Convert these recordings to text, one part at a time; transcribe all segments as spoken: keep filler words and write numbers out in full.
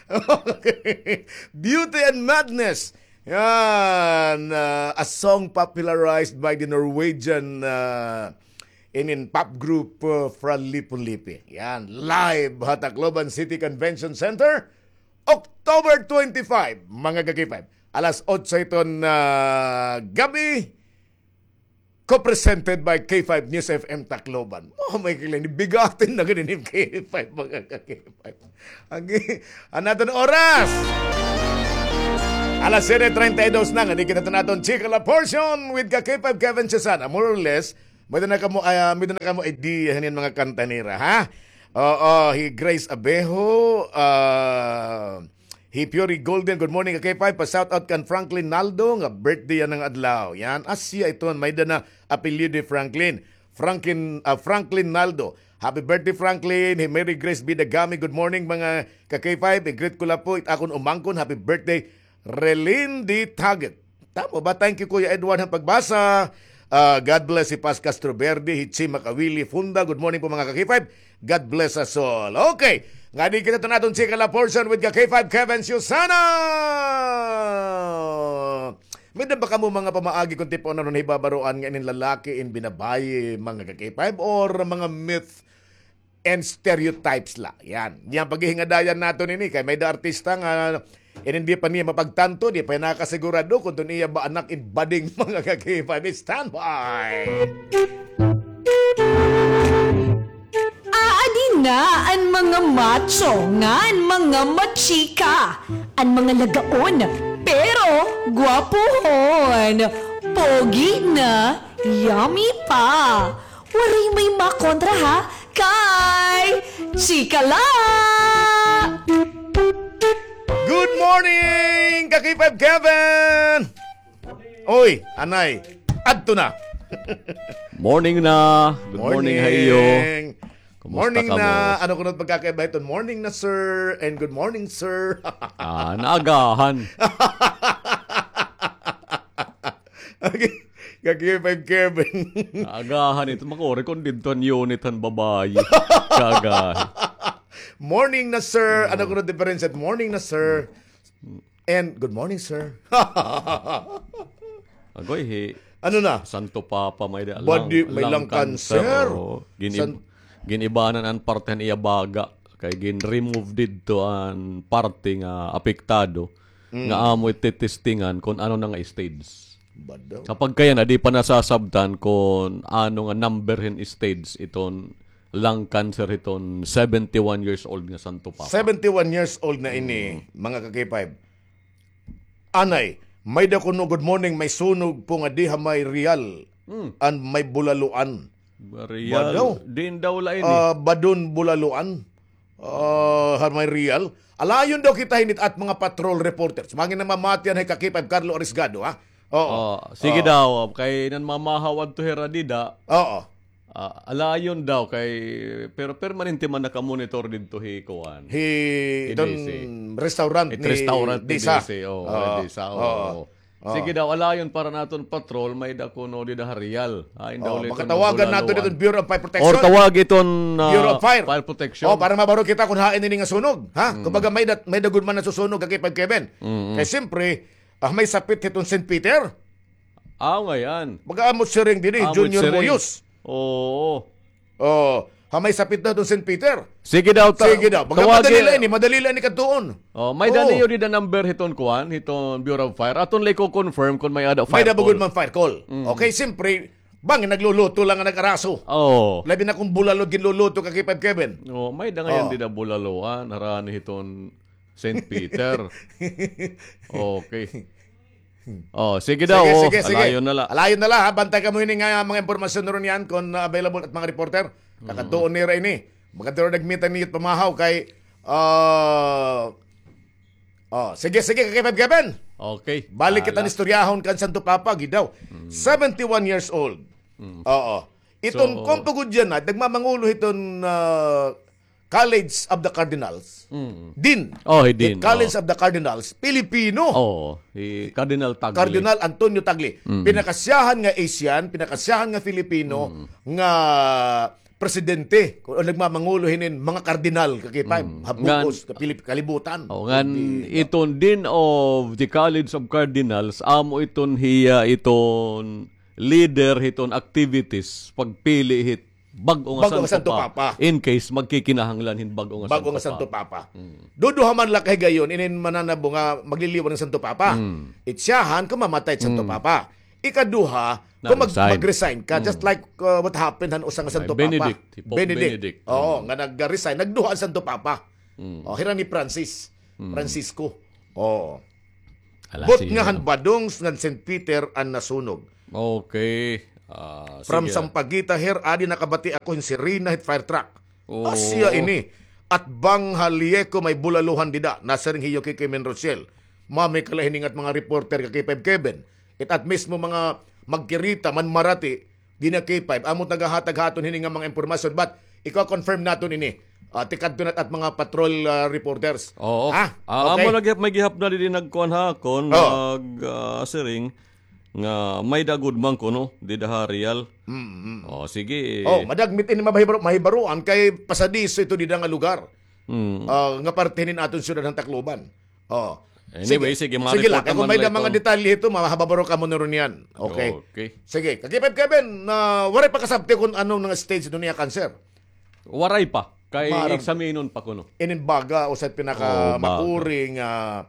Okay. Beauty and Madness. Yan, ah, a song popularized by the Norwegian, ah, inin pop group, ah, Fra Lipu Lipi. Yan, live ha Tacloban City Convention Center, October twenty-five, mga ka-K five. Alas otso iton, ah, gab-i. Co-presented by K five News F M Tacloban. Oh, may kilang bigatin na ganin K five, mga ka-K five. Agi, an aton oras. Alas siyete treinta y dos na, nga di kita naton chika la portion with ka-K five Kevin Susana. More or less, may da na kamo, ah, may da na kamo idea hanin mga kanta nira, ha? Oo, hi Grace Abejo, ah, hi Fury Golden, good morning, ka-K five. Pa-shout out kan Franklin Naldo, nga birthday yana nga adlaw. Yan, asya iton, may da na apelyido Franklin. Franklin, ah, Franklin Naldo. Happy birthday, Franklin. Hi Mary Grace Bidagami, good morning, mga ka-K five. I-greet ko la po it akon umangkon. Happy birthday, Relin D. Taget. Tama ba? Thank you, Kuya Edward, han pagbasa. Ah, God bless hi Paz Castro Verde, hi Chi Makawili Funda. Good morning po, mga ka-K five. God bless us all. Okay. Ngadi kita iton aton chika la portion with ka-K five Kevin Susana. May da ba kamo mga pamaagi kon tipo na ron hibabaroan nga inin lalaki in binabayi, mga ka-K five, or mga myth and stereotypes la. Yan. Yan paghihingadayan naton ini kay may da artista nga, eh, hindi pa niya mapagtanto, di pa niya nakasigurado kon tun iya ba anak in bading, mga ka-K five. Standby! Aadi na an mga macho ngan mga machika, an mga lagaon, pero gwapuhon, pogi na, yummy pa. Waray may makontra, ha, kay chika la! Good morning, ka-K five Kevin! Oy, anay, adto na. Morning na. Good morning ha iyo. Morning. Kumusta kamo? Morning na. Ano kuno it pagkakaiba hiton morning na, sir, and good morning, sir? Ah, naagahan. Okay. Ka-K five Kevin. Agahan ito. Makuri kon didto an unit han babayi. Kagahi. Morning na, sir. Ano kuno diferensya? Morning na, sir. And good morning, sir. Agoy, hi Ano na? Santo Papa may da, badi, may lung cancer. Oo. Gin-, gin-ibanan an parte han iya baga. Kay gin-remove didto an parte nga apektado. Nga amo it titestingan kon ano na nga stage. Badaw. Sa pagkayana, di pa nasasabtan kon ano nga number hin stage iton lung cancer hiton seventy-one years old nga Santo Papa. Seventy-one years old na ini, mga ka-K five. Anay, may da kuno, good morning, may sunog po nga diha may Real and may Bulaluan. Real, badaw. Diin daw la ini? Ah, Badon, Bulaluan. Ah, ha may Real. Alayon daw kita hini it mga patrol reporters. Mangin na mamatian hay ka-K five Carlo Arisgado, ha? Oo. Oh, sige daw, kay nan mamahaw adto hira dida. Oo. Ah, alayon daw kay, pero permanente man nakamonitor didto hi kuan. Hi, iton restaurant ni Disa. Restaurant ni Disa, oo. Sige daw, alayon para naton patrol, may da kuno dida ha Real. Ay, daw, makatawagan nato didto Bureau of Fire Protection. Or tawag iton, ah, Bureau of Fire. Fire Protection. Oh, para mabaro kita kon hain ini nga sunog, ha? Kumbaga, may da, may da gud man nasusunog, ka-K five Kevin. Kay siyempre, ah, may sapit hiton Saint Peter. Aw, ngayan. Mag-aamot siring diri, Junior Moyos. Oo. Oh, ha may sapit na iton Saint Peter. Sige daw, ta-, sige daw. Baga madali la ini, madali la ini kadtuon. Oh, may da niyo dida number hiton kuan, hiton Bureau of Fire. Aton la iko-confirm kon may-ada fire call. May da ba gud man fire call. Okay, siyempre, bangin nagluluto la nga nag-araso. Oh. Labi na kon bulalo ginluluto, ka-K five Kevin. Oh, may da ngayan dida bulaloan, harani hiton Saint Peter. Okay. Oh, sige daw. Sige, sige, sige. Alayon na la. Alayon na la, ha. Bantay kamo hini nga mga impormasyon na ron yan kon, ah, available it mga reporter. Kakadtuon nira ini. Maganda ron nagmita niyo pamahaw kay, ah, oh, sige, sige, ka-K five Kevin. Okay. Balik kita han istoryahon kan Santo Papa, gid daw. Seventy-one years old. Oo. Iton kon pagud yan na, nagmamangulo hiton, ah, College of the Cardinals. Dean. Oh, hi Dean. College of the Cardinals, Pilipino. Oo, hi Cardinal Tagle. Cardinal Antonio Tagle. Pinakasyahan nga Asian, pinakasyahan nga Filipino, nga presidente, o nagmamangulo hinin mga kardinal, ka K five, ha bug-os, ka Pilip-, kalibutan. O, ngan iton Dean of the College of Cardinals, amo iton hiya iton leader hiton activities, pagpili hit bag-o nga Santo Papa. In case magkikinahanglan hin bag-o nga Santo Papa. Duduha man la ka higayon, inin mananabo nga magliliwan hin Santo Papa. It siyahan kon mamatay it Santo Papa. Ikaduha, kon mag-, mag-resign ka, just like, uh, what happened han usa nga Santo Papa. Benedict. Oo, nga nag-resign, nagduha an Santo Papa. O, hira ni Francis. Francisco. Oo. But nga han Badong ngan Saint Peter an nasunog. Okay. Ah, from Sampaguita, her, adi nakabati ako hin sirena hit fire truck. Asya ini. At bang ha Lieco may bulaluhan dida, nasiring hiyo Kikoy Menrociel. Mami kala hini nga mga reporter ka K five Kevin. It at mismo mga magkirita man marati, di na K five, amo nagahatag ha aton hini nga mga impormasyon. But ikaw confirm naton ini. Ah, tikadto na at mga patrol, ah, reporters. Oo. Ha? Ah, okay. Amo lagi may gihap na didi nagkuan ha akon, nag, ah, siring nga may dagod man kuno dida ha Real. Mm, mm. O, sige. O, madagmit ini mabahibaro-, mahibaroan kay pasadiso ito dida nga lugar. Mm. Ah, nga parte hinin aton syudad han Tacloban. O. Anyway, sige, sige, sige la. Kay kon may da mga detalye ito, mahababaro kamo na ron yan. Okay. Okay. Sige, ka K five Kevin, ah, waray pa kasabti kon ano nga stage ito niya cancer. Waray pa. Kay examinon pa kuno. Inin baga, usa it pinakamakuring, ah,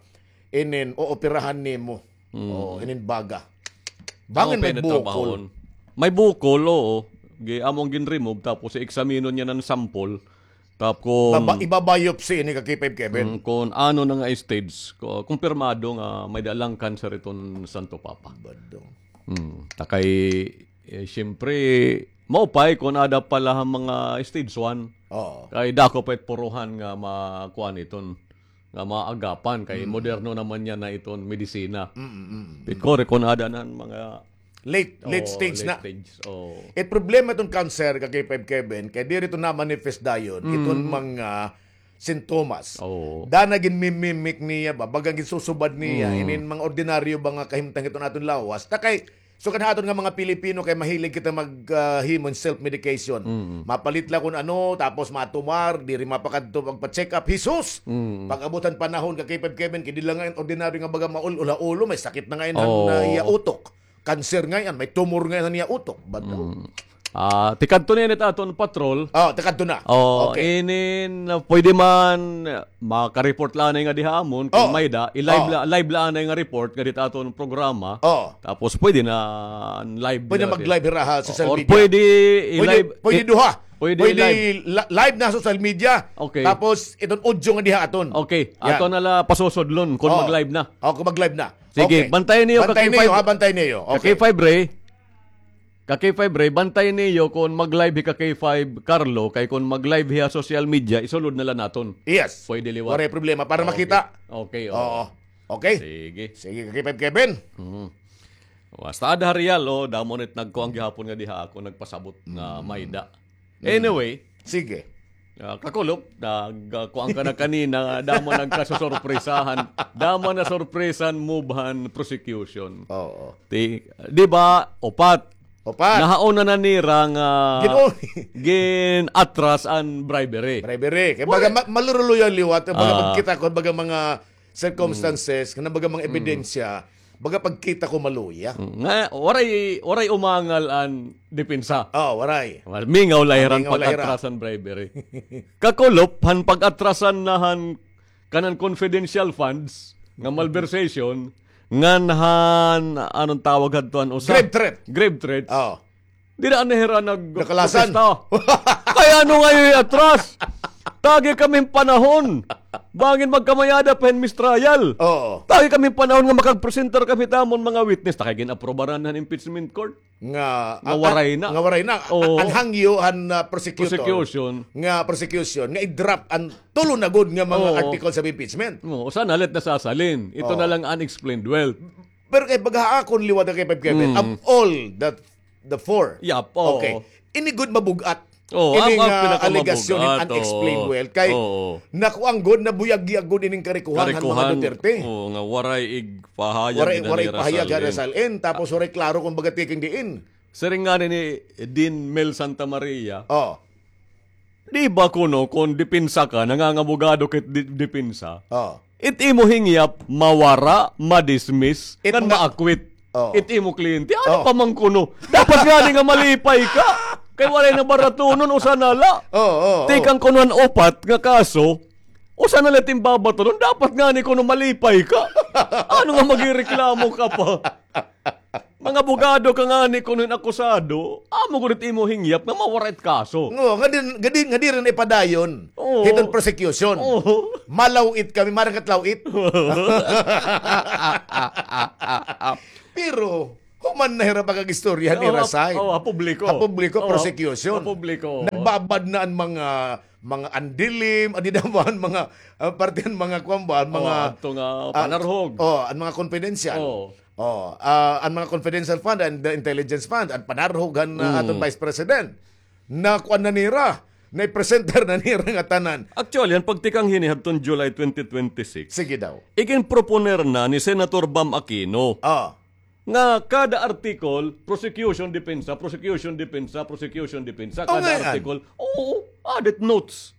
inin ooperahan nimo. Mm. O, inin baga. Bangin may bukol. May bukol, oo. Gi-, among gin-remove, tapos i-examinon niya ng sample. Tapos, baba-, iba-biopsy ini ka K five Kevin. Mm, kon ano na nga stage, ko-, kumpirmado nga may da la cancer iton Santo Papa. Badong. Mm, ta kay, eh, siyempre, maupay kon ada pa la han mga stage one. Oo. Kay dako pa it puruhan nga makuan iton, nga maagapan. Kay moderno naman niya na iton medisina. Mm, mm, mm. Pikore kon ada na han mga late, late stage na. It problema iton cancer, ka K five Kevin, kay diri ito na-manifest dayon iton mga sintomas. Oo. Dana ginmimimic niya ba, baga ginsusubad niya inin mga ordinaryo ba nga kahimtang iton aton lawas. Ta kay, sugad ha aton nga mga Pilipino kay mahilig kita mag, ah, himo hin self-medication. Mm. Mapalit la kon ano, tapos matumar, diri mapakadto magpa-check up. Jesus! Mm. Pag-abot han panahon ka K five Kevin, kay di la ngay-an ordinaryo nga baga maul-ul ha ulo, may sakit na ngay-an han, ah, iya utok. Cancer ngay-an, may tumor ngay-an han iya utok. Badong. Mm. Ah, tikadto na ini it aton patrol. O, tikadto na. O, okay. Inin, ah, pwede man, ah, maka-report la anay nga diha amon, kon may da, i-live la, live la anay nga report nga dida ha aton programa. O. Tapos pwede na live. Pwede na mag-live hira ha social media. Or pwede i-live. Pwede duha. Pwede live na social media. Okay. Tapos iton audio nga diha aton. Okay. Aton na la pasusudlon kon mag-live na. O, kon mag-live na. Sige, bantayan niyo, ka K five. Bantayan niyo. Ka K five Ray. Ka K five Ray, bantay niyo kon mag-live hi ka K five Carlo, kay kon mag-live hiya social media, isulod na la naton. Yes. Pwede liwat. Waray problema para makita. Okay, oo. Okay. Sige. Sige, ka K five Kevin. Mhm. Basta ada ha Real, o, damo na it nagkuan gihapon nga diha ako nagpasabot nga may da. Anyway. Sige. Ah, Kakulop, nag, ah, kuan ka na kanina, damo nagkasusurpresahan. Damo na surpresahan, move han prosecution. Oo. Ti, di ba, upat. Upat. Nahauna na nira nga gin-atras an bribery. Bribery. Kay baga ma-, maluruluyan liwat, baga pagkita ko, baga mga circumstances, nga baga mga ebidensya, baga pagkita ko maluya. Mm, nga, waray, waray umangal an depensa. O, waray. Mingaw la hira han pag-atras han bribery. Kakulop, han pag-atrasan na han kanan confidential funds, nga malversation, ngan han, anong tawag hadto han usa? Grave threat. Grave threats. Oo. Dida na hira nagprotesta. Kay ano ngay-an iatras? Tagi kami hin panahon. Bangin magkamay-ada pa hin mistrial. Oo. Tagi kami hin panahon nga makagpresentar kami hit amon mga witness. Ta kay gin-aprobaran han impeachment court. Nga, nga waray na. Nga waray na. Oo. An hangyo han, ah, prosecutor. Prosecution. Nga prosecution. Nga i-drop an tulo na gud nga mga articles of impeachment. Oo, usa na la it nasasalin. Ito na lang unexplained wealth. Pero kay baga ha akon liwat, ka K five Kevin, of all the, the four. Yap, oo. Okay. Ini gud mabug-at. Oo, ini nga alegasyon hin unexplained wealth. Kay nakuan gud, nabuyag-yag gud ining karikuhan han mga Duterte. Oo, nga waray igpahayag, waray igpahayag hira salin. Tapos waray klaro kon baga tikang diin. Siring ngani ni Dean Mel Santa Maria. Oo. Di ba kuno kon depensa ka, nangangabogado ka it di-, depensa? Oh. It imo hingyap, mawara, ma-dismiss, it ngan nga ma-acquit. Oh. It imo kliyente, ano pa man kuno? Dapat ngani nga malipay ka. Kay waray na baratunon, usa na la. Oh, oh, oh. Tikang kuno an upat nga kaso, usa na la it im babatunon, dapat ngani kuno malipay ka. Ano nga magireklamo ka pa? Mga abogado ka ngani kuno hin akusado, amo gud it imo hingyap nga mawara it kaso. Oo, ngadi, ngadi, ngadi rin ipadayon. Oo. Hiton prosecution. Oo. Malaw-it kami, marang kat law-it. Pero, human na hira pag-istorya ni Oo, Rasay. Oo, ha publiko. Ha publiko, Oo, prosecution. Ha publiko. Nagbabad na an mga, mga andilim, adi naman mga, ah, parte an mga kuwan ba, an Oo, mga, adto nga ah, panarhog. Oo, an mga confidential. Oo. Oh, ah, an mga confidential fund and the intelligence fund, an panarhog han, ah, Mm. aton Vice President. Na kuan na nira, na-presenter na nira nga tanan. Actually, an pagtikang hini hadton July twenty twenty-six, Sige daw. iginproponer na ni Senator Bam Aquino Ah. nga kada article, prosecution, depensa, prosecution, depensa, prosecution, depensa, Oh, kada ngay-an. article. Oo, added notes.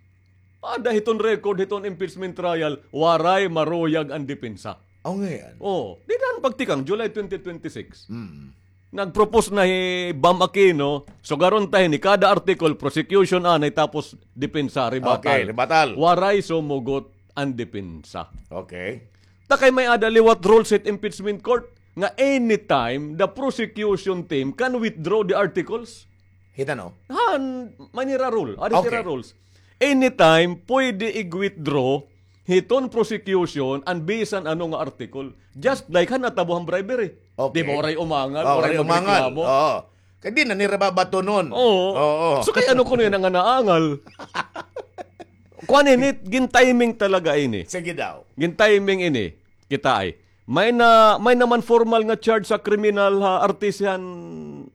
Ada hiton record hiton impeachment trial, waray maruyag an depensa. Aw, ngay-an. Oh, dida han pagtikang, July twenty twenty-six. Mm. Nag-propose na hi Bam Aquino, sugaron ta hini, kada article, prosecution anay, tapos depensa, rebuttal. Okay, rebuttal. Waray sumugot an depensa. Okay. Ta kay may-ada liwat rules hit impeachment court nga anytime the prosecution team can withdraw the articles. Hita, no? Han, may nira rule. Ada Okay. sira rules. Anytime, pwede ig-withdraw hiton prosecution an bisan ano nga article. Just like han natabo han bribery. Okay. Di ba, waray umangal, Oh, waray waray umangal. magreklamo. Oo. Kay di na nira babatunon. Oo. Oo. So, kay ano kuno yana nga naangal? Kuan ini, gin-timing talaga ini. Sige daw. Gin-timing ini. Kita ay. May na, may naman formal nga charge sa kriminal ha artisan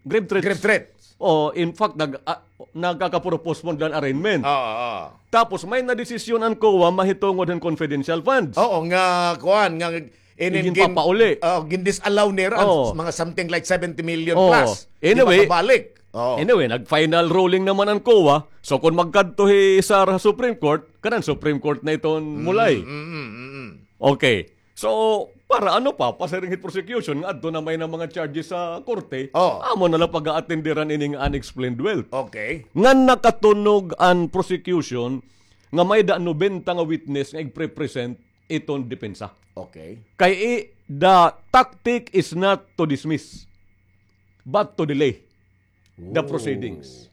grave threats. Grave threats. Oh, in fact, nag-, ah, nagkakapuro postpone dan arraignment. Oo, oo. Tapos may nadesisyon an COA mahitungod han confidential funds. Oo, nga, kuan, nga inin Igin gin-, papauli. oh, gin-disallow nira, Oo. mga something like seventy million Oo. plus. Di Anyway, makabalik. Oo. anyway, nag-final ruling naman an COA. So, kung magkadto hi Sara ha Supreme Court, kanan Supreme Court na iton mulay. Mm, mm, mm, mm. Okay. So, para ano pa, pasiring hit prosecution, nga adto na may na mga charges sa korte, Oh. amo na la pag-aatenderan ining unexplained wealth. Okay. Nga nakatunog an prosecution, nga may da nobenta nga witness nga igpre-present iton depensa. Okay. Kay i-, the tactic is not to dismiss, but to delay the Oh. proceedings.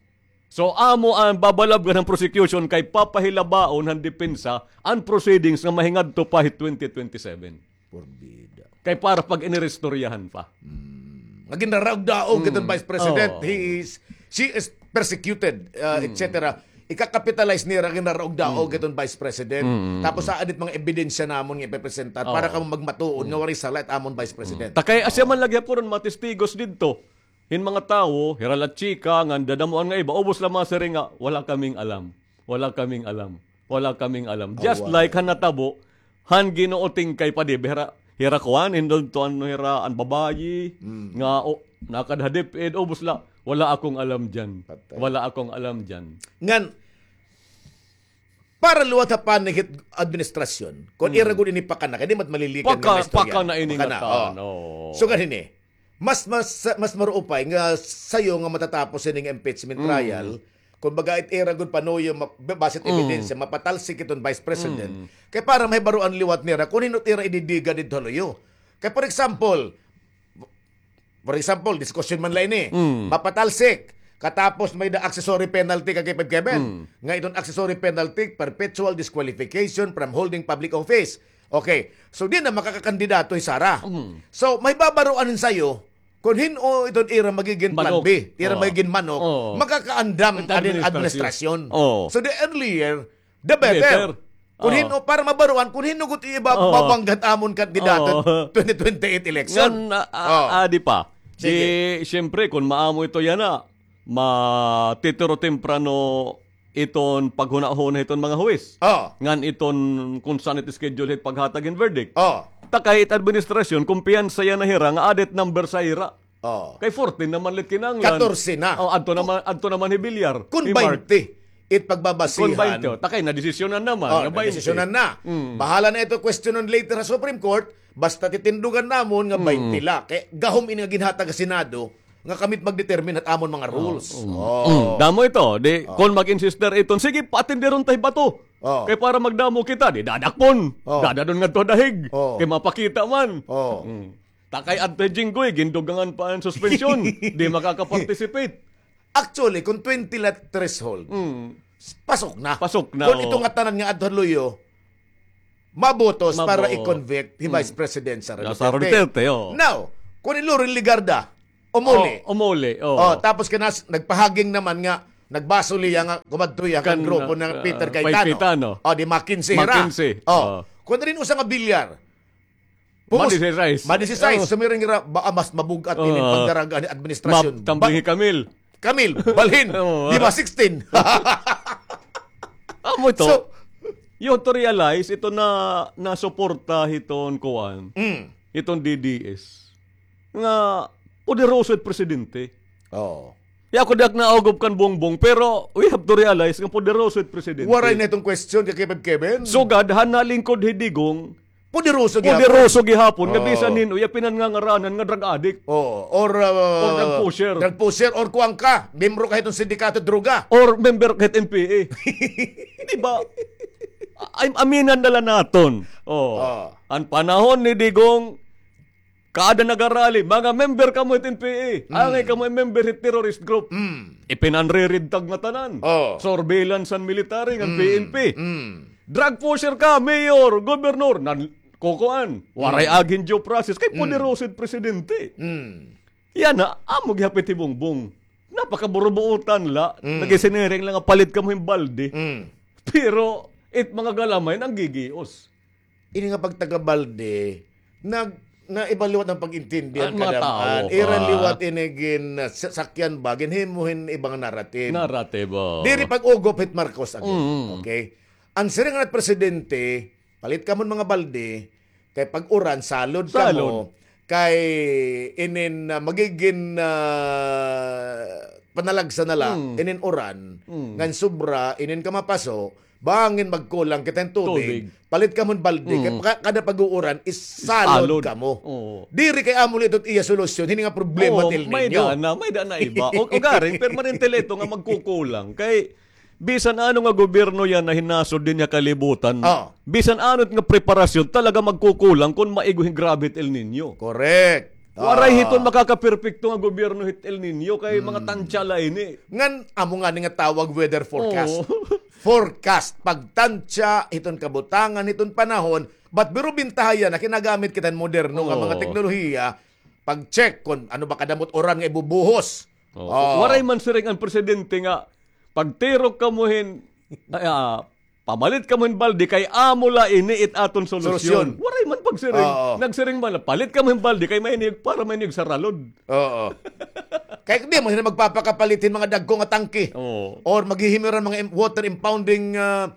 So, amo an babalabgan han prosecution kay papahilabaon han depensa an proceedings nga mahingadto pa hit twenty twenty-seven. Porbida. Kay para pag-iniristoryahan pa. Hmm. Nga ginraraog-daog Hmm. iton Vice President, Oh. he is, she is persecuted, uh, Hmm. et cetera. Ika-capitalize nira, ginraraog-daog Hmm. iton Vice President. Hmm. Tapos, sa adit mga ebidensya namon nga ipepresentar para Oh. kamo magmatuod nga Hmm. waray sala it amon Vice President. Ta kay asya man lagi ha puron mga testigos didto. Hin mga tawo, hira la chika, ngan dadamoan nga iba, ubos la masiring nga, "Wala kaming alam. Wala kaming alam. Wala kaming alam." Just Awa. like han natabo, han Ginoo Tingkay pa, di ba, hira, hira kuan, indon to ano, hira, an babayi, Mm. nga, o, nakad ha DepEd, ubos la, "Wala akong alam dyan. Patay. Wala akong alam dyan." Ngan, para liwat ha panig hit administrasyon, kon Mm. ira gud ini pakana, kay di mat malilikan Paka-, nga istorya. pakana ini Pakana, nga tan, oh. oh. So, ganini, Mas, mas, mas maruupay nga sayo nga matatapos ini nga impeachment Mm. trial, kumbaga, it ira gud panuyo, ma-, ba-, basit Mm. ebidensya, mapatalsik iton Vice President. Mm. Kay para mahibaroan liwat nira, kun hin-o it ira ididiga didto ha luyo. Kay, for example, for example, diskusyon man la ini, Mm. mapatalsik, katapos may-da accessory penalty kay Kevin. Mm. Nga iton accessory penalty, perpetual disqualification from holding public office. Okay. So, di na makakakandidato hi Sara. Mm. So, mahibabaroan hin sayo, kun hin-o iton ira magigin plan Manok. B, ira Oo. magigin manok, Oo. makakaandam Ito an administrasyon. administrasyon. Oo. So, the earlier, the better. Better. Kun Oo. hin-o, para mabaroan, kun hin-o gud iba Oo. babangga hit amon kandidato Oo. twenty twenty-eight election. Ngan, a-, a-, Oo. adi pa. Sige. Di, siyempre, kun maamo ito yana, matitiro temprano iton paghunahuna hiton mga huwis. Oh. Ngan iton kun san it schedule hit paghatag hin verdict. Oh. Ta kay it administrasyon, kumpiyansa yana hira nga added number sa ira. Oh. Kay fourteen naman la it kinahanglan. Katorse na. Oh, adto naman, adto naman hi Villar, Kun hi Mark. baynte, it pagbabasihan. Kon baynte, o, takay, nadesisyonan naman, Oh, nga baynte. Nadesisyonan na. Mm. Bahala na ito, questionon later sa Supreme Court, basta titindugan namon nga Mm. baynte la. Kay gahom ini nga ginhatag ha Senado, nga kami it magdetermine hit amon mga rules. Oh, mm. Oh. Mm. Damo ito. Di, Oh. kon mag-insister iton, sige, paatenderon ta hi bato. Oh. Kay para magdamo kita, di dadakpon. Oh. Dadadon ngadto ha dahig. Oh. Kay mapakita man. Oh. Mm. Takay adto hi Jinggoy, gindugangan pa an suspension. Di makaka-participate. Actually, kung twenty la threshold, Mm. pasok na. Pasok na, Kung oh. ito nga tanan nga adto ha luyo, mabotos para Mabo-, i-convict hi mm. Vice President Sara Sara Duterte. Duterte, oh. Now, kung hi Loren Legarda, umuli. Oh, umuli, oh. Oh, tapos kanas-, nagpahaging naman nga, nagbasol hiya nga kumadto hiya kan Kan, grupo ah, ni Peter ah, Cayetano. Cayetano. Oh, di McKinsey hira. McKinsey, Oh. oh. Kung diri usa nga bilyar, Pus-, Madisisais. madisisais, Oh. sumiring hira, baka mas mabug-at ini Oo. pagdaraga ni administrasyon. Map, tambing Ba-, hi Camille. Camille, balhin. Oo. Di ba sixteen? Amo ito. So, you have to realize, ito na, nasuporta hiton kuan, Mm. hiton D D S. Nga, poderoso it presidente. Oo. Ya, ako diak naugop kan Bongbong, pero we have to realize nga poderoso it presidente. Waray na itong question kay Kevin Kevin. Sugad, han nalingkod hi Digong, Poderoso gihapon. Poderoso gihapon, nga Oo. bisan hin-o, iya pinangangaranan nga drug addict. Oo. Or, uh, Or drug pusher. drug pusher, or kuwan ka, membro ka hitong sindikato droga. Or member ka hit N P A. Di ba? Ay, aminan na la naton. Oh. Oo. An panahon ni Digong, kada nagarali, mga member kamo hit N P A. Mm. Angay kamo member hit terrorist group. Mm. Ipinanriridtag nga tanan. Oo. Surveillance an military, ngan Mm. P N P. Mm. Drug pusher ka, mayor, gobernador. Nan-, kukuan. Waray Mm. agi hin due process. Kay Mm. poderoso it presidente. Mm. Yana, amo gihapit hi Bongbong. Napakaburubuotan la. Mm. Nagisiniring la nga palit kamo hin balde. Mm. Pero, it mga galamay, nanggigios. Ini nga pagtaga-balde, nag-, naiba liwat an pag-intindi han kadam-an. Ira liwat ini gin-, ah, sa-, sakyan ba, ginhimo hin iba nga narrative. Narrative, oo. Diri pag-ugop hit Marcos again. Mm. Okay? An siring han presidente, palit kamo hin mga balde, kay pag-uran, salod kamo, Salod. kay inin, ah, magigin, ah, panalagsa na la, Mm. inin uran, Mm. ngan sobra, inin kamapaso, bangin magkulang kita hin tubig, Tubig. palit kamo hin balde, kay Mm. ka-, kada pag-uuran, isalod Salod. kamo. Oo. Diri kay amo la ito it iya solusyon, hini nga problema Oo, hit El Niño. may daan na, may daan na iba. O, ugaring, permanente la ito nga magkukulang. Kay, Bisan ano nga gobyerno yana hinasod dinhi ha kalibutan, Ah. bisan ano nga preparasyon, talaga magkukulang kon maigo hin grabe hit El Niño. Correct. Waray Ah. hiton makakaperpekto nga gobyerno hit El Niño, kay mga Hmm. tansya la ini. Ngan, amo ngani nga tawag weather forecast. Oo. Forecast, pagtansya hiton kabutangan, hiton panahon, but pero bintaha yana, kinagamit kita hin moderno nga mga Oo. teknolohiya, pag-check kon ano ba kadamo it uran nga ibubuhos. Oh, Oh. waray man siring an presidente nga, "Pagtirok kamo hin, ah, pamalit kamo hin balde kay amo la ini it aton solusyon." Solusyon. Waray man pagsiring. Oo. Nagsiring man la, "Palit kamo hin balde kay may niyog, para may niyog saralod." Oo. Kay di man sila magpapakapalit hin mga dagko nga tangke. Oo. Or maghihimiran mga im-, water impounding, ah,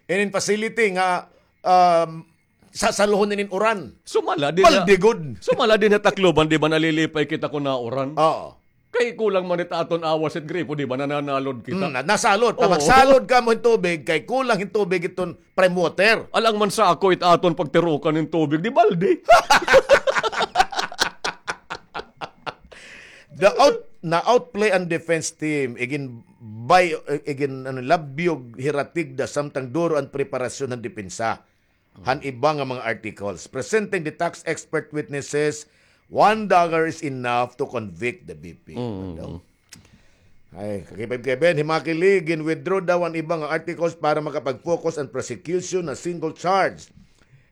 inin facility nga, um, sasaluhon inin uran. Sumala din Balde na, gud. sumala din ha Tacloban, di ba, nalilipay kita kon nauran? Oo. Kay kulang man it aton awas hit gripo, di ba, nananalod kita? Mm, na-, nasalod. Oo. Pag magsalod kamo hin tubig, kay kulang hin tubig iton prime water. Alang man sa ako it aton pagtirukan hin tubig, di balde. The out-, na-outplay an defense team, igin bay-, igin, ano, labyog, hiratig da, samtang duro an preparasyon han depensa han iba nga mga articles. Presenting the tax expert witnesses, one dollar is enough to convict the V P. Mm. Ano daw? Ay, kakipay Kevin, himakili, gin-withdraw daw an iba nga articles para makapag-focus an prosecution na single charge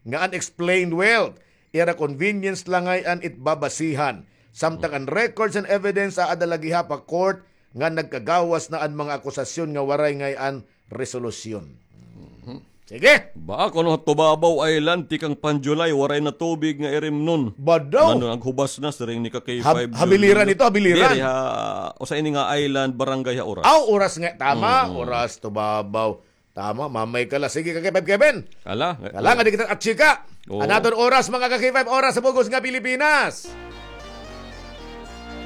nga unexplained wealth. Ira convenience la ngay-an it babasihan. Samtang an records and evidence aada la gihap ha court nga nagkagawas na an mga akusasyon nga waray ngay-an resolusyon. Mhm. Sige. Ba, kuno ha Tubabao Island, tikang pan-July, waray na tubig nga irimnon. Ba daw? Ano, naghubas na, siring ni ka K five Hab-, habiliran Junior. ito, habiliran. Diri ha, usa ini nga island, barangay ha Oras. Aw, Oras nga, tama, Mm. Oras, Tubabao. Tama, mamay ka la. Sige, ka K five Kevin. Ala, Kala nga di kita at chika. Oo. An aton oras, mga ka K five, oras sa bug-os nga Pilipinas.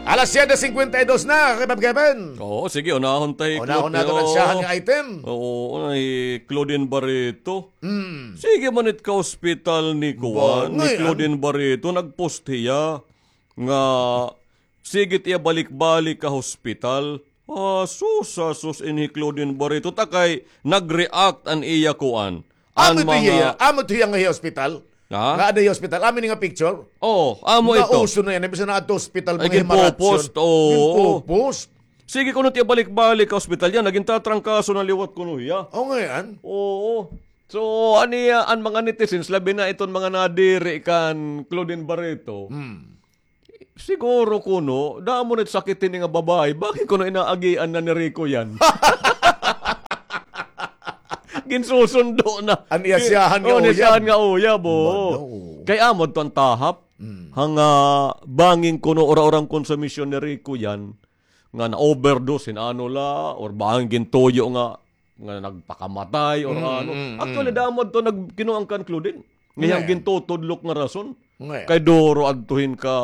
Alas siyete singkwenta y dos na, Kevin. Oo, sige, unahon ta hi Claudine. Unahon naton an siyahan nga item. Oo, hi Claudine Barreto. Mm. Sige man it ka-hospital ni kuan, ni Claudine Barreto, nag-post hiya nga sige it iya balik-balik ka hospital. Ah, sus, ah, sus, ini hi Claudine Barreto. Ta kay nag-react an iya kuan. Amo ito hiya, amo ito hiya nga hiya hospital? Ha? Nga ada hiya hospital. Amo ini nga picture? Oo, amo ito. Nauso na yana, bisan na adto hospital, mga himaratsyon. Ginpo-post, oo. Ginpo-post. Sige kuno it iya balik-balik ka hospital yana, gintatrangkaso na liwat kuno hiya. Oo nga yan. Oo. So, an iya, an mga netizens, labi na iton mga nadiri kan Claudine Barreto. Hmm. Siguro kuno, damo na it sakit hini nga babaye, bangin kuno inaagian na ni Rico yan. Ginsusundo na. An iya siyahan nga uyab. An iya siyahan nga uyab, oo. Kay amo adto an tahap. Mm. Hanga bangin kuno ura-ura an konsumisyon ni Rico yan, nga na-overdose hin ano la, or bangin gintuyo nga nga nagpakamatay or ano. Mm, mm, mm. Actually, damo adto nagkinuan kan Claudine. Nga iyang gintutudlok nga rason. Kay duro adto hin ka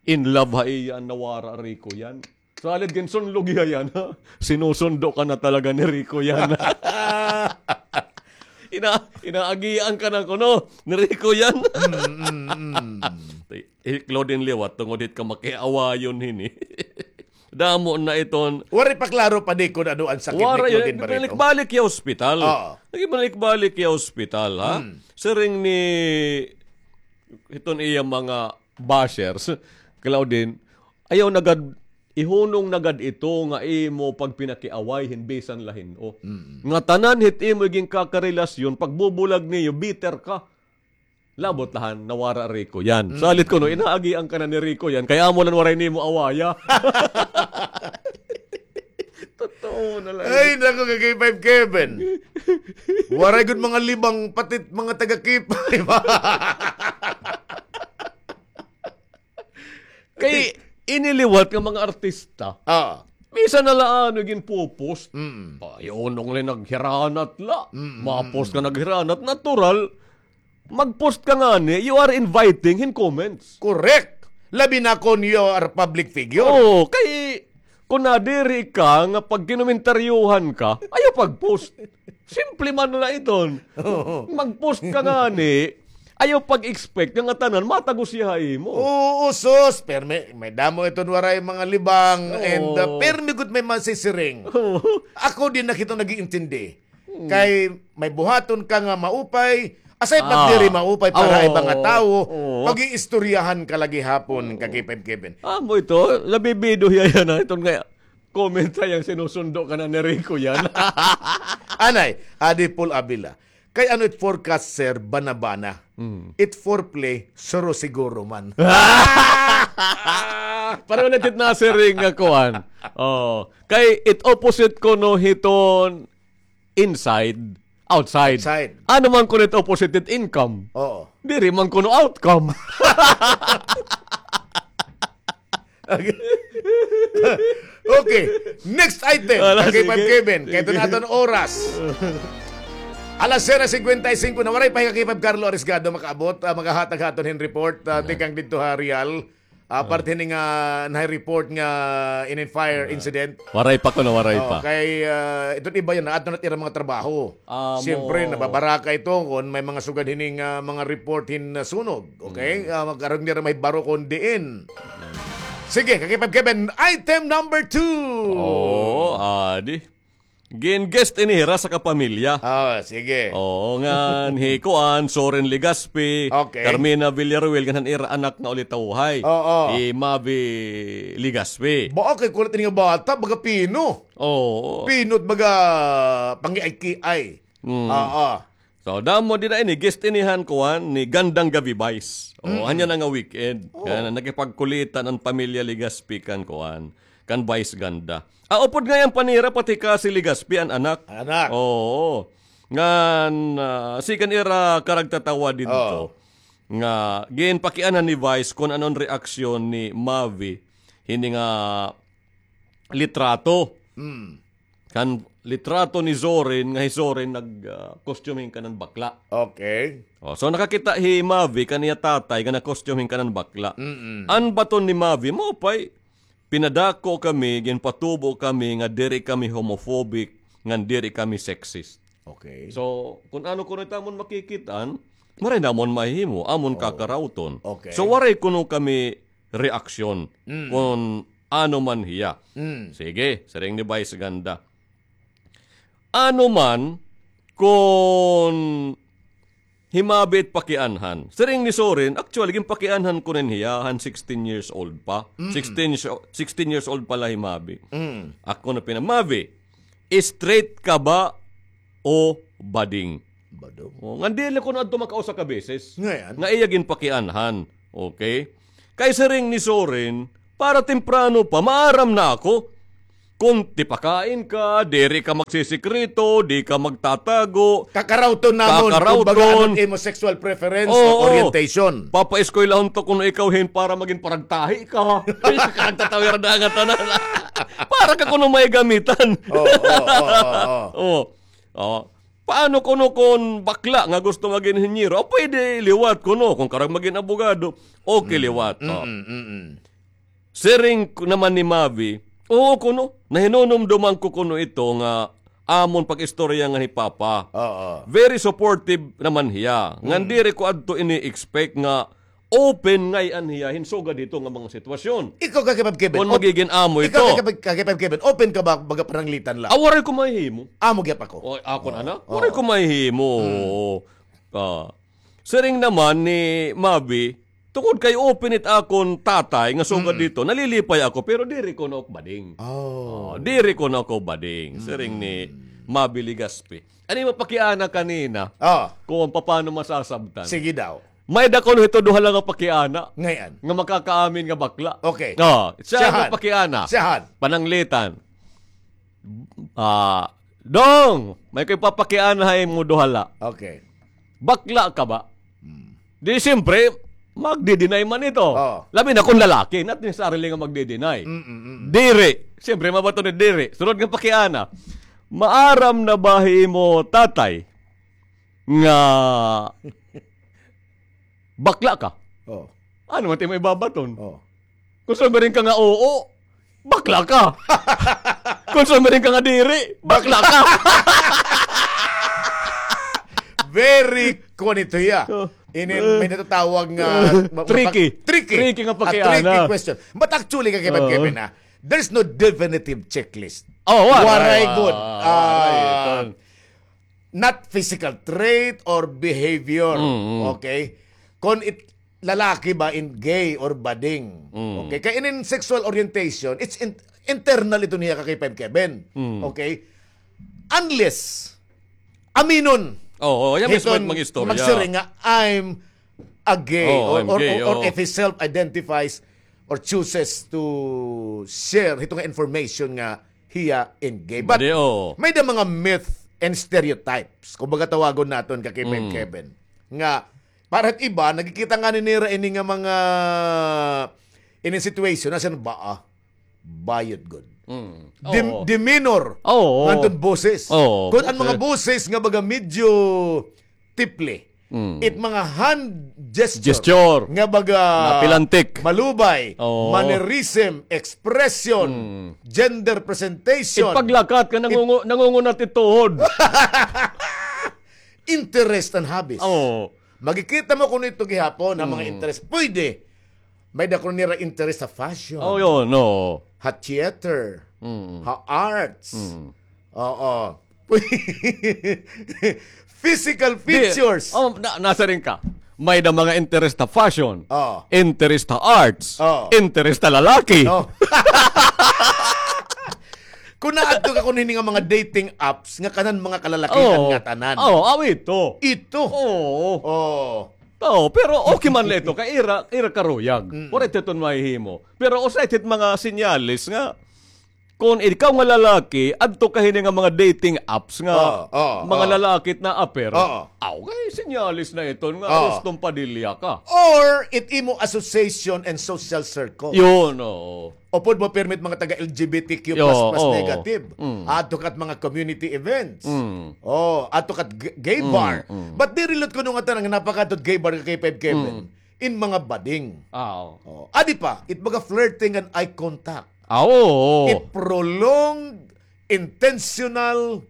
in love ha iya an nawara Rico yan. Salit ginsunlog hiya yana, ha? Sinusundo ka na talaga ni Rico yana. Ina-, inaagian ka na kuno ni Rico yana. Mm, mm, mm. Eh, Claudine liwat, tungod hit ka makiawayon hini. Damo na iton. Waray pa klaro pa di kon ano an sakit ni Claudine Barreto. Waray, nagbalik-balik hiya hospital. Oo. Nagbalik-balik hiya hospital, ha? Hmm. Siring ni hiton iya mga bashers, Claudine, ayaw na gad, ihunong na gad ito nga imo pagpinakiaway hin bisan la hin-o. Mm. Nga tanan hit imo ginkarelasyon, pagbubulag niyo, bitter ka. Labot la han nawara Rico yan. Mm. Salit kuno, inaagian ka na ni Rico yan. Kay amo la an waray nimo awaya. Totoo na la. Ay, naku, ka K five Kevin. Waray gud mga libang, pati mga taga K five. Kay ini liwat nga mga artista. Ah. Bisan na la ano ginpo-post. Mm. Ay, unong la naghiranat la. Mm, mm, mm. Ma-post ka naghiranat. Natural. Mag-post ka ngani, you are inviting hin comments. Correct. Labi na kon you are public figure. Oo, kay kon nadiri ka nga pagkinomentaryohan ka, ayaw pag-post. Simple man la iton. Oo. Mag-post ka ngani, ayaw pag-expect nga ngatanan matagos hiya ha imo. Oo, sus, permi, may damo iton waray mga libang, and, uh, permi gud may masisiring. Oo. Ako di na kita nag-iintindi. Hmm. Kay may buhaton ka nga maupay, aside pag diri maupay para ha iba nga tawo, pag-iistoryahan ka la gihapon, ka K five Kevin. Amo ito, nabibido hiya yana, iton nga comment ha iya nga sinusundo ka na ni Rico yana. Anay, adi Paul Avila. Kay ano it forecast, sir, bana-bana? Hmm. It foreplay, suro-siguro man. Pareho la it nasiring nga kuan. Oh, kay it opposite kuno hiton inside, outside. Outside. Ano man kuno it opposite it income? Oo. Diri man kuno outcome. Okay. Next item. Ala, sige. Kay Kevin, kay iton aton oras. Alas siyete singkwenta y singko na, waray pa hi ka K five Carlo Arisgado makaabot, ah, magahatag ha aton hin report, ah, tikang didto ha Real. Ah, parte hini nga nahi-report nga inin fire incident. Waray pa kuno, waray pa. Kay, ah, iton iba yana, adto na it ira mga trabaho. Siyempre, nababaraka ito kon may mga sugad hini nga mga report hin, ah, sunog. Okay? Ah, magkaroon nira may baro kon diin. Sige, ka K five Kevin, item number two. Oo, adi. Gin-guest ini hira sa kapamilya. Ah, sige. Oo, ngan hi kuan, Soren Legaspi, okay, Carmina Villaruel, ngan han ira anak nga ulitawhay. Oo. Hi Mavi Legaspi. Ba, kay kulit ini nga bata, baga pino. Oo. Pino't baga pangiay-kiay. Mm. Oo. So, damo dida ini, guest ini han kuan ni Gandang Gabi Vice. O, anya na nga weekend. Nga nakipagkulitan an pamilya Legaspi kan kuan, kan Vice Ganda. Ah, upod ngay-an pa nira pati ka si Legaspi an anak. An anak. Oo. Ngan, ah, sikan ira karagtatawa didto. Oo. Nga, ginpakiana ni Vice kon ano an reaksyon ni Mavi hini nga litrato. Mm. kan litrato ni Zorin, nga hi Zorin nag, ah, costume hin kanan bakla. Okay. Oh, so nakakita hi Mavi kan iya tatay nga nag-costume hin kanan bakla. Mm-mm. An baton ni Mavi, maupay, pinadako kami, ginpatubo kami nga diri kami homophobic, ngan diri kami sexist. Okay. So, kun ano kuno it amon makikit-an, maray namon mahihimo, amon kakarawton. Okay. So, waray kuno kami reaksyon kun ano man hiya. Mm. Sige, siring ni Vice Ganda. Ano man kun hi Mavi it pakianhan. Siring ni Zorin, actually, ginpakianhan ko rin hiya, han sixteen years old pa. Mm. Sixteen, sixteen years old pa la hi Mavi. Mm. Ako na pina, Mavi, straight ka ba o bading? Bading. Oh, ngan diri kuno adto makausa ka beses. Nga iya ginpakianhan. Okay? Kay siring ni Zorin, para temprano pa, maaram na ako. Kun tipakain ka, diri ka magsisikreto, di ka magtatago. Kakarawton namon, kumbaga, ano it imo sexual preference o orientation. Papaeskwelahon ta kuno ikaw hin para magin paragtahi ka. Ay, sa karagtatawi ra na nga tanan. Para ka kuno may gamitan. Oo, oo, oo, oo. Oo. Oh. Paano kuno kun bakla nga gusto magin inhinyero? O, pwede liwat kuno. Kun karag magin abogado, okay liwat. Mm, mm, mm. Siring naman ni Mavi, oo kuno, nahinunumduman ko kuno ito nga amon pag-istorya ngan hi Papa. Oo. Very supportive naman hiya. Ngan diri ko adto ini-expect nga open ngay-an hiya hin sugad hito nga mga sitwasyon. Ikaw, Kakipab Kevin, kun magigin amo ito. Ikaw, Kakipab, Kakipab Kevin, open ka ba, baga pananglitan la? Ah, waray ko mahihimo. Amo gyap ako. O, akon ana? Waray ko mahihimo. Ah. Siring naman ni Mavi, tungod kay open it akon tatay nga sugad dito, nalilipay ako, pero diri kuno ako bading. Oh. Oh, diri kuno ako bading. Siring ni Mavi Legaspi. Ano yung mapakiana kanina? Oh. Kung paano masasabtan? Sige daw. May-ada kuno hito duha la nga pakiana. Ngay-an? Nga makakaamin nga bakla. Okay. Oh, siya nga pakiana. Siyahan. Pananglitan. Ah, Dong, may ko ipapakiana ha imo duha la. Okay. Bakla ka ba? Hmm. Di siyempre, magdi-deny man ito. Oo. Labi na kung lalaki, not necessarily nga magdi-deny. Mm, mm, mm. Diri. Siyempre, mabaton ni diri. Sunod nga pakiana. Maaram na ba hi imo tatay nga bakla ka? Oh. Ano man it imo ibabaton? Oh. Kung sumiring ka nga oo, bakla ka. Kung sumiring ka nga diri, bakla ka. Very kuan ito hiya. Oh. Ini, may natatawag nga, uh, ma-, tricky. Tricky. Tricky nga pakiana. A tricky question. But actually, Kakipab Kevin, ha, there's no definitive checklist. Oh, waray. Waray gud. Ah, waray. Not physical trait or behavior. Mm, mm. Okay? Kon it lalaki ba in gay or bading. Mm. Okay? Kay inin sexual orientation, it's in-, internal ito niya, Kakipab Kevin. Mm. Okay? Unless, aminon. Oo, yan mismo hiton mag-istorya. Magsiring nga, "I'm a gay," or, or, or if he self-identifies or chooses to share hito nga information nga hiya in gay. But may-ada mga myth and stereotypes, kumbaga tawagon naton, Kakipab Kevin, nga para hit iba, nakikita ngani nira ini nga mga, ini situation, nasiring ba, ah, bayot gud. Mm. Dem-, demeanor. Oo. Nganton boses. Oo. Kun an mga boses nga baga medyo tipli. Mm. It mga hand gesture. Gesture. Nga baga napilantik. Malubay. Oo. Mannerism, expression, gender presentation. It paglakat nga nangungu-, nangungunat it tuhod. Interest and hobbies. Oo. Makikita mo kuno ito gihapon, ang mga interest. Pwede. May-ada kuno nira interest sa fashion. Oh, yun, no. Ha theater. Mm. Ha arts. Mm. Oo. Physical features. Oh, na-, nasiring ka. May-ada mga interest ha fashion. Oh. Interest ha arts. Oh. Interest ha lalaki. Oh. Kun naadto ka kuno hini nga mga dating apps, nga kanan mga kalalakihan nga tanan. Oh, aw ito. Ito. Oo. Oh. Oo, pero okay man la ito, kay ira, ira karuyag. Mm. Waray ito mahihimo. Pero usa ito mga senyales nga, Kon ikaw nga lalaki, adto ka hini nga mga dating apps nga Oo, oo, mga oo. lalaki it na-appear. Oo. Aw, kay sinyalis na iton nga Oo. Rustom Padilla ka. Or it imo association and social circle. Yun, oo. Upod mo permit mga taga L G B T Q plus plus Yo, oo. negative. Mm. Adto ka it mga community events. Mm. Oh, adto ka it g-, gay Mm, bar. mm. But diri la it kuno nga tanan nga napakadto it gay bar ka K five Kevin. Mm. In mga bading. Ah, oo. Oh, adi pa, it mga flirting and eye contact. Ah, oo. It prolonged, intentional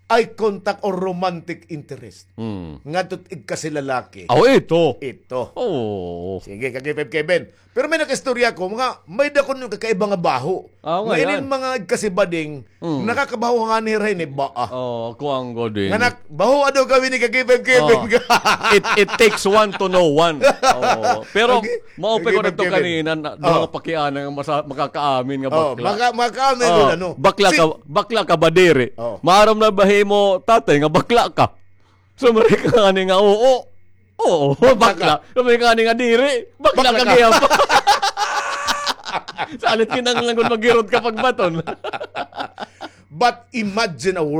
eye contact or romantic interest. Mm. Ngadto it igkasilalaki. Ah, oo, ito. Ito. Oo. Sige, ka K five Kevin. Pero may nakaistorya ko, mga, may-ada kuno kakaiba nga baho. Ah, Nga nga inin yan. mga igkasibading, Mm. nakakabaho ngani hira hini, ba, ah. Oh, kuwang ko din. Nga nak-, baho daw kami ni ka K five Kevin. Oh. It, it takes one to know one. Oh. Pero, Okay. mao pa Okay, ko nagto Kevin. kanina, na, Oh. mga pakiana nga masa-, makakaamin nga Oh, bakla. maka-, makakaamin Oh, yun, ano? bakla Si- ka, bakla ka ba diri? Oh. Maaram na ba himo tatay nga bakla ka? So, mari ka ngani nga, oo. Oo, Bakla bakla. ka. So, mari ka ngani nga diri. Bakla Bakla ka ka. gihap. Salit kinahanglan gud maghirot ka pagbaton. But imagine a world